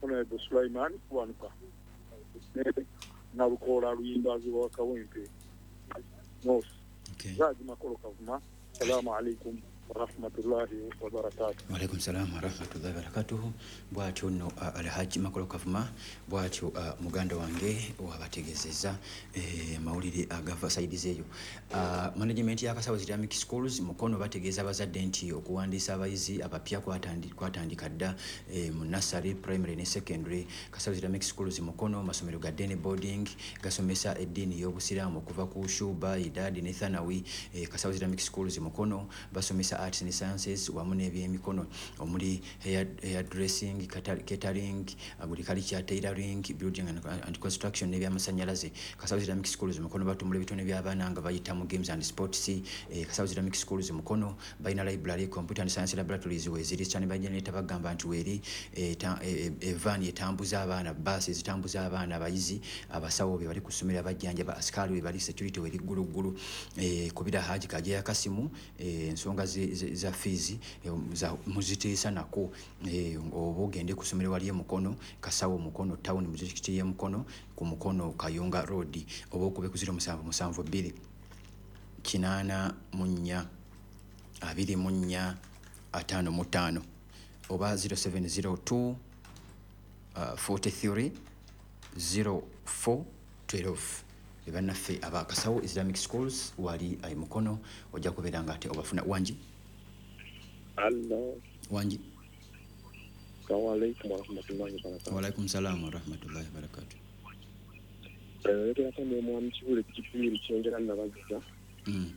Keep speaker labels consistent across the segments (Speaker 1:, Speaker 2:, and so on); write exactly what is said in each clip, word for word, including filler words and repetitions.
Speaker 1: Honorable Sulaiman Kiwanuka ne Nalukoola Luyimbazi wa Kawempe North.
Speaker 2: Okay.
Speaker 1: Haji Makolo Kavuma, salamu alaikum warahmatullahi wabarakatuh.
Speaker 2: Waalaikum salam warahmatullahi wabarakatuh. Bwatyo nno uh, Alhaji Makolo Kavuma bwatyo uh, muganda wange wabategeezezza eh, mawulire agava side zeeyo. Uh, management ya Kasawo Islamic Schools Mukono bategeeza abazadde nti okuwandiisa abayizi abapya kwatandika dda eh, mu nursery, primary ne secondary. Kasawo Islamic Schools Mukono masomero ga day boarding gasomesa eddiini y'Obusiraamu okuva ku Shuba, Idadi ne Thanawi. eh, Kasawo Islamic Schools Mukono basomesa arts and sciences wamu n'ebyemikono omuli hair, hair dressing, catering, agriculture, tailoring, building and, and construction n'ebyamasannyalaze. Kasawo Islamic Schools Mukono batumbula ebitone by'abaana nga bayita mu games and sports. Eh, Kasawo Islamic Schools Mukono balina library, computer and science laboratories weeziri. Standby generator bagamba nti weeri, eh, eh, eh, van etambuza abaana, bus ezitambuza abaana, abayizi, abasawo be bali ku ssomero, abajjanjaba, asikali we bali, security weri gguluggulu. Eh, kubira Haji Kajeya Kasimu, ensonga eh, za fees muziteesa nako, oba ogende ku ssomero wali e Mukono, Kasawo Mukono town mu disitulikiti y'e Mukono ku Mukono Kayunga Road, oba okube ku ziro musanvu musanvu bbiri kinaana mu nnya abiri mu nnya ataano mu ttaano oba zero seven zero two forty three zero four twelve. Bannaffe aba Kasawo Islamic Schools wali ayi Mukono, ojja kubeera nga ate obafuna. Wangi.
Speaker 3: Allo.
Speaker 2: Wangi.
Speaker 3: Assalamu alaikum warahmatullahi wabarakatuh.
Speaker 2: Wa alaikum salam warahmatullahi wabarakatuh.
Speaker 3: Oyogera ne mwami Kibule Kipiri Kyengera Nabazza.
Speaker 2: Mm.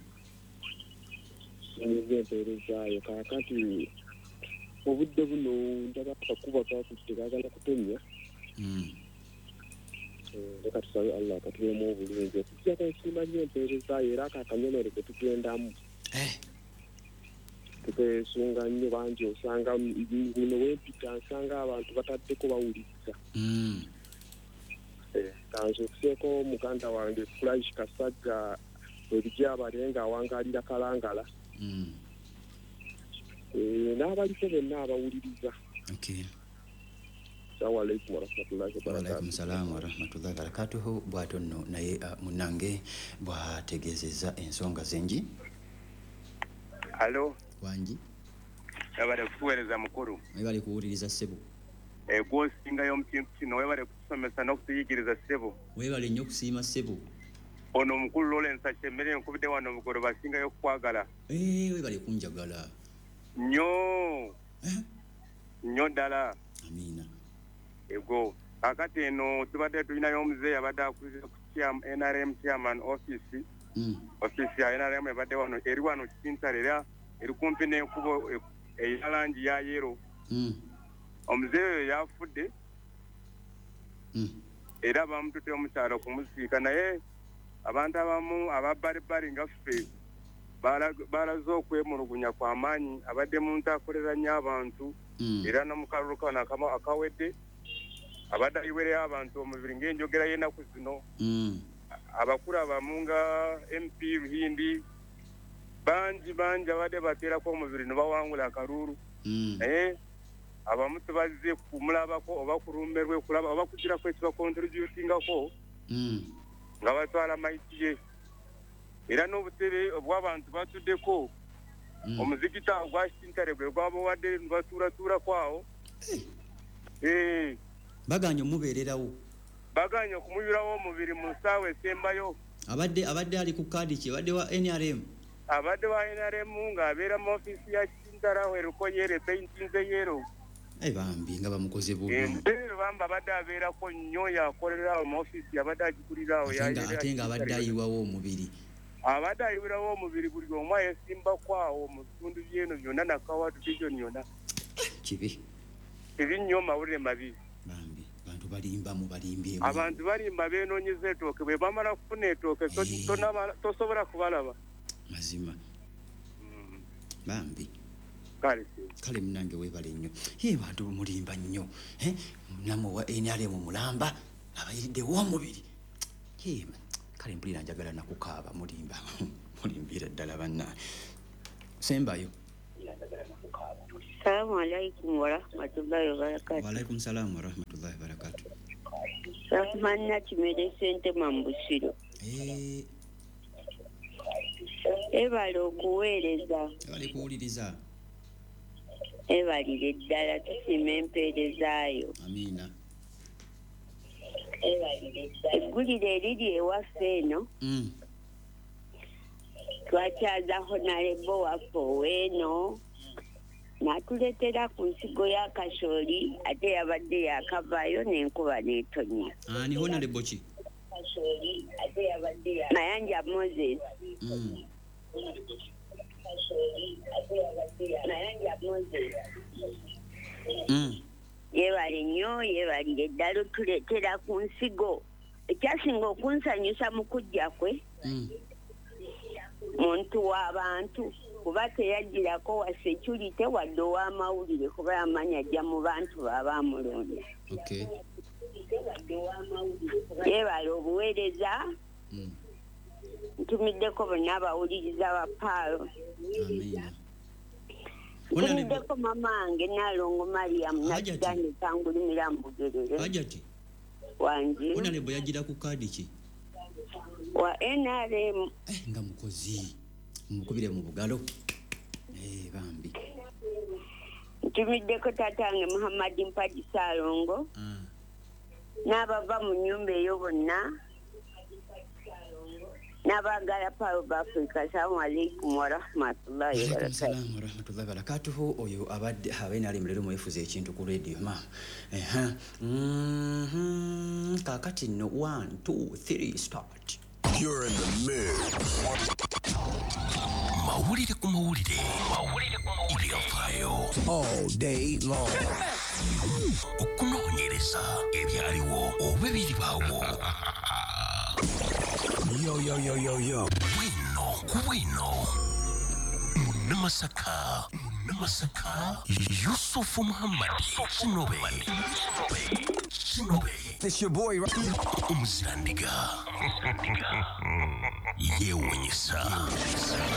Speaker 3: Nze mpeerezaayo kaakati obudde buno ndaba akakuba kakutte kaagala kutonnya.
Speaker 2: Mm.
Speaker 3: Leka tusabe Allah akatuweemu obulungi. Okuggyako nsiima nnyo empeerezaayo era ako akanyomero ke tugendamu.
Speaker 2: Eh.
Speaker 3: Tukeesunga nnyo bangi, osanga muno wempita nsanga abantu bataddeko bawuliriza.
Speaker 2: Mm.
Speaker 3: Kanzukuseeko muganda wange Flash Kasagga ebijja nga awangalira Kalangala.
Speaker 2: Mm.
Speaker 3: Eh, n'abaliko bonna abawuliriza.
Speaker 2: Okay.
Speaker 3: Assalamu alaikum warahmatullahi wabarakatuh.
Speaker 2: Wa alaikum salam warahmatullahi wabarakatuh. Bw'atyo nno naye uh, munnange bw'ategeezezza ensonga zengi.
Speaker 4: Alo.
Speaker 2: Wangi.
Speaker 4: Webale kutuweereza mukulu.
Speaker 2: Webale kuwuliriza ssebo.
Speaker 4: Eh, gw'osingayo mu kintu kino, webale kutusomesa n'okutuyigiriza ssebo.
Speaker 2: Webale nnyo okusiima ssebo.
Speaker 4: Ono omukulu Lawrence Akyemmere nkubidde wano Bugoloba asingayo okukwagala.
Speaker 2: Eh, webale kunjagala.
Speaker 4: Nnyo.
Speaker 2: Eh?
Speaker 4: Nnyo ddala.
Speaker 2: Amiina.
Speaker 4: Ego. Kakati eno tubadde tulinayo omuzeeyi abadde akulira ku N R M chairman office.
Speaker 2: Mm.
Speaker 4: Office ya N R M ebadde wano eri wano Kintale era eri kumpi n'enkubo eya langi ya yero.
Speaker 2: Mm.
Speaker 4: Omuzeeyi oyo yafudde.
Speaker 2: Mm.
Speaker 4: Era bamututte omukyalo okumuziika, naye abantu abamu ababbalibbali nga ffe balaze okwemulugunya kw'amaanyi. Abadde muntu akolera nnyo abantu.
Speaker 2: Mm.
Speaker 4: Era n'omukalulu kano akawedde abadde ayiwereyo abantu omubiri ng'enjogera y'ennaku zino.
Speaker 2: Mm.
Speaker 4: Abakulu abamu nga M P Ruhindi bangi bangi abadde bateerako omubiri ne bawangula akalulu.
Speaker 2: Mm.
Speaker 4: Naye abamu tebazze kumulabako oba kulumberwe kulaba oba kugirako ekibakontributingako.
Speaker 2: Mm.
Speaker 4: Nga batwala mayiti ye. Era n'obutebe obw'abantu batuddeko.
Speaker 2: Mm.
Speaker 4: Omuzikiti ogwa Kintale gwe gwabawadde ne batuulatuulako awo.
Speaker 2: Eh.
Speaker 4: Eh.
Speaker 2: Baganye omubeererawo.
Speaker 4: Baganye okumuyulawo omubiri mu ssaawa esembayo.
Speaker 2: Abadde abadde ali ku kaadi ki? Abadde wa N R M.
Speaker 4: Abadde wa N R M ng'abeera mu ofiisi ya Kintale awo eriko yero epeyintinze yero.
Speaker 2: Eh, bambi nga bamukoze bubi.
Speaker 4: Eh, bambi abadde abeerako nnyo, yakolera awo mu ofiisi, abadde agikulira awo.
Speaker 2: Ate nga abadde ayiwawo omubiri.
Speaker 4: Abadde ayiwirawo omubiri buli omu ayesimbako awo mu bitundu by'eno byonna Nakawa division yonna.
Speaker 2: Kibi.
Speaker 4: Kibi nnyo, mawulire mabi.
Speaker 2: Bambi abantu balimba mu balimbye.
Speaker 4: Abantu balimba beenoonyeza ettooke, bwe bamala kufuna ettooke tosobola kubalaba.
Speaker 2: Mazima.
Speaker 4: Mm.
Speaker 2: Bambi.
Speaker 4: Kale.
Speaker 2: Kale munnange weebale nnyo. Ye bantu mulimba nnyo. Eh? Namwe wa N R M mulamba abayiriddewo omubiri. Ye kale mpulira njagala nakukaaba mulimba. Mulimbira ddala bannange. Sembayo.
Speaker 5: Assalamu alaikum warahmatullahi wabarakatuh.
Speaker 2: Wa alaikum salam warahmatullahi wabarakatuh.
Speaker 5: Rahman Kimere Sente Mambusiro.
Speaker 2: Eh.
Speaker 5: Ebale okuweereza.
Speaker 2: Ebale kuwuliriza.
Speaker 5: Ebalire ddala tusiima empeerezaayo.
Speaker 2: Amiina.
Speaker 5: Eggulire eriri ewaffe eno.
Speaker 2: Mm.
Speaker 5: Twakyaza Honorable waffe ow'eno. N'atuleetera ku nsigo ya kasooli ate yabadde yakavaayo n'enkuba n'etonnya.
Speaker 2: Ani Honorable ki?
Speaker 5: Mayanja Moses.
Speaker 2: Mm. Mm.
Speaker 5: Yeebale nnyo, yeebalire ddala otuleetera ku nsigo. Ekyasinga okunsanyusa mu kujja kwe
Speaker 2: Mm.
Speaker 5: muntu w'abantu kuba teyagirako wa security wadde ow'amawulire kuba yamanya ajja mu bantu baba amulonda.
Speaker 2: Okay.
Speaker 5: Yeebale obuweereza.
Speaker 2: Mm.
Speaker 5: Ntumiddeko bonna abawuliriza ba Paalo.
Speaker 2: Amiina.
Speaker 5: Ntumiddeko mama wange Nalongo Mariam
Speaker 2: Hajati.
Speaker 5: Nakiganda Kangulumira Mbugerere.
Speaker 2: Hajati.
Speaker 5: Wangi.
Speaker 2: Honorable yagira ku kaadi ki?
Speaker 5: Wa N R M.
Speaker 2: Eh, nga mukozi. Mukubire mu bugalo. Eh, bambi.
Speaker 5: Ntumiddeko tatange Muhammad Mpaji Ssalongo.
Speaker 2: Ah.
Speaker 5: N'abava mu nnyumba eyo bonna. N'abaagala Paalo b'Afrika. Assalamu alaikum warahmatullahi
Speaker 2: Alaikum
Speaker 5: wabarakatuh.
Speaker 2: salam warahmatullahi wabarakatuh. Oyo abadde abeena leero mwefuze ekintu ku radio ma. Eha. Mhm. Kaakati nno one two three start.
Speaker 6: You're in the mix.
Speaker 7: Mawulire ku mawulire. Mawulire ku mawulire. Ebyafaayo.
Speaker 6: All day long.
Speaker 7: Okunoonyereza ebyaliwo oba ebiribaawo.
Speaker 6: Yo, yo, yo, yo, yo.
Speaker 7: Bwino ku bwino. Munnamasaka. Munnamasaka. Yusufu Muhammad. Kinobe. Kinobe.
Speaker 6: It's your boy.
Speaker 7: Omuzirandiga. Yeewuunyisa.